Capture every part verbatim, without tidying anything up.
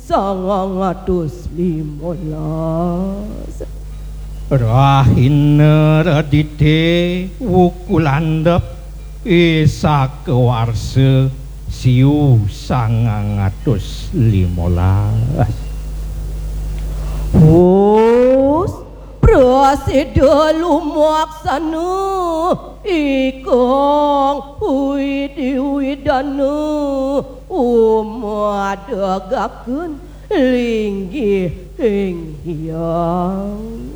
sangang atus limolas. Rahina Redité wuku landhep ing sakawarsa siu sangang atus limolas. Wus, prasida lumaksana ikang Widi Widana umadegaken linggih ing hyang.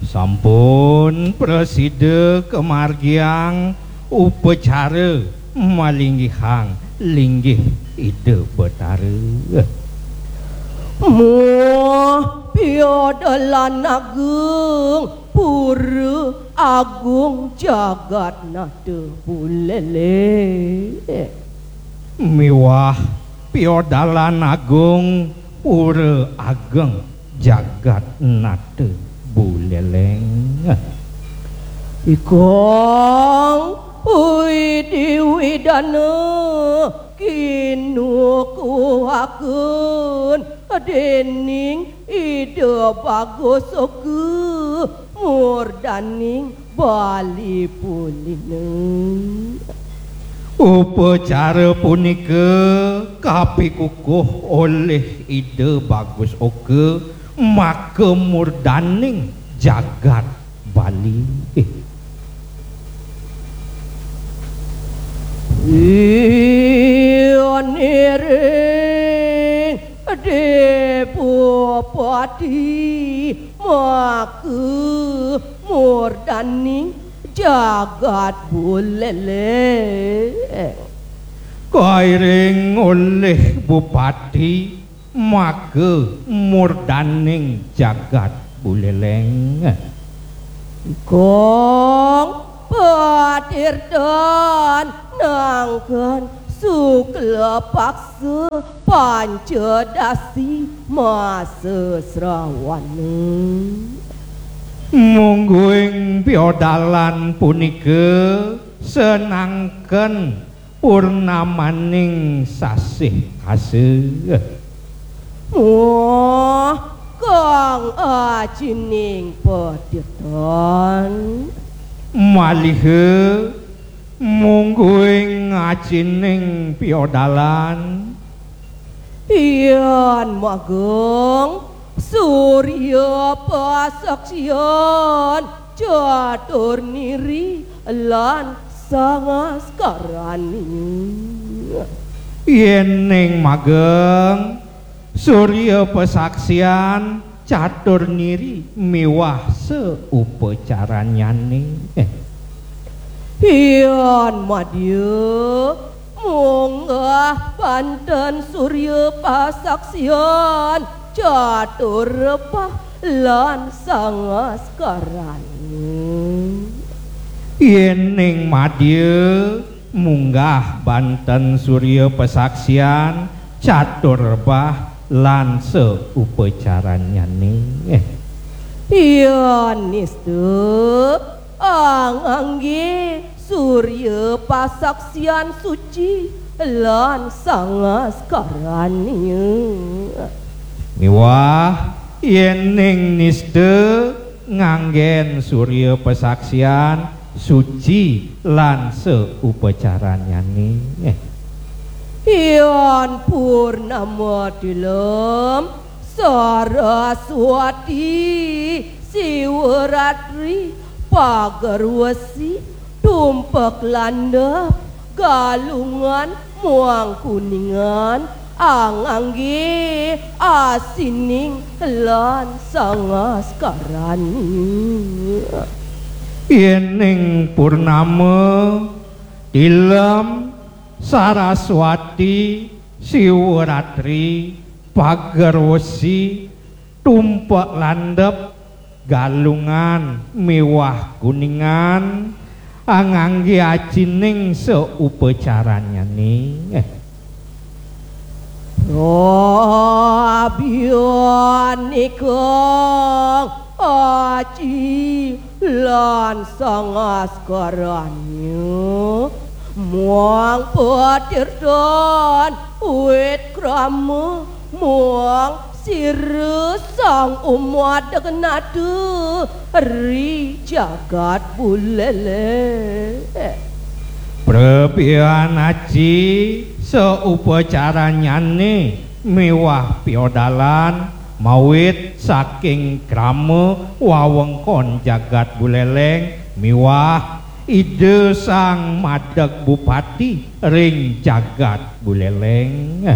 Sampun prasida kamargiang upacara malinggihang linggih Ida Betara. Muh piodalan agung Pura Agung Jagatnata Buleleng. Miwah piodalan agung Pura Ageng Jagatnata Buleleng. Ikang Widi Widana kinukuhaken dening Ida Bagus Oka murdaning Bali Pulina. Upacara punika kapikukuh olih Ida Bagus Oka maka murdaning jagat Bali. Ianiring Depopati maka murdaning jagat Buleleng. Kairing olih Bupati maka murdaning jagat Buleleng. Kang patirtan nangkan sukla paksa pancadasi masa srawana. Mungguing piodalan punika senangken purnamaning sasih asa. Muh kang acining patirtan. Maliha mungguing acining piodalan. Yan magung surya pasaksian catur niri lan sangaskarani. Yening mageng surya pasaksian catur niri miwah saupacaranyane. Yan madya munggah banten surya pasaksian catur rebah lan sangaskarani. Yening madya munggah banten surya pasaksian catur rebah lan saupacaranyane. Yan nista angangge surya pasaksian suci lan sangaskarani. Miwah yening nista nganggen surya pasaksian suci lan saupacaranyane. Yan purnama tilem Saraswati Siwaratri Pagerwesi Tumpek Landep Galungan muang Kuningan angangge asining lan sangaskarani. Yening purnama tilem Saraswati Siwaratri Pagerwesi Tumpek Landep Galungan miwah Kuningan angangge acining saupacaranyane. Rabianikang aci lan sangaskaranya muang patirtan wit krama Wong sira sang umadeg nadu ri jagat Buleleng. Prepian aji saupacaranyane miwah piodalan mawit saking krama wawengkon jagat Buleleng miwah Ida Sang Madeg Bupati ring jagat Buleleng.